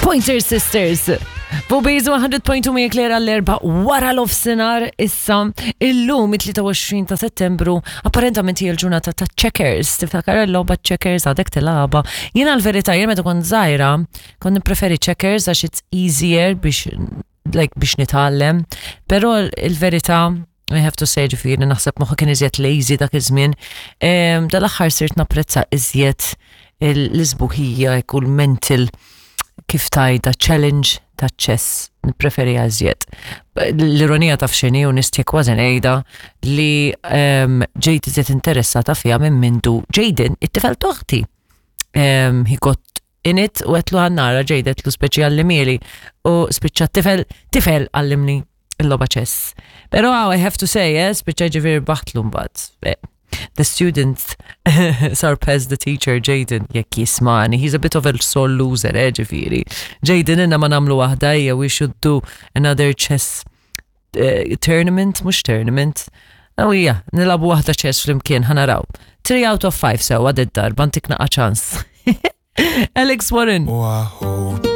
Pointer Sisters. Fuq 100.2 Mia Clear għall-erba wara l-ofsinar issa illum it-23 ta' settembru apparentament hija l-ġurnata ta' checkers. Tiftakar il-logħba checkers għadek tilgħabha. Jiena l-verità jien meta kont żgħira kont nippreferi checkers għax it's easier biex like biex nitgħallem, però il-verità I have to say ġifieri naħseb moħħi kien iżjed lazy dak iż-żmien. Dal-aħħar sirt napprezza iżjed l-isbuħija u l-mental kif tajda challenge ta' chess nippreferi iżjed. L-ironija taf x'inhi u nistja kważi ngħidha li ġejt iżjed interessata fiha minn mindu Jaden it-tifel t'oħti. He got in it u għedtlu ħa nara Jaden għedtlu speċi għallimhieli u spiċċa tifel tifel għallimni il-logħba chess. Pero I have to say, spiċċa ġifieri rbaħtlu mbagħad. The student surpassed the teacher, Jaden, jekk jismagħni. He's a bit of a sore loser, ġifieri. Jaden, inna ma nagħmlu waħda, ejja, we should do another chess tournament, mhux tournament. Oh yeah, nilagħbu waħda chess flimkien, ħa naraw. 3 out of 5 sewa d-darba, ntik naqa ċans. Alex Warren. Wahoo.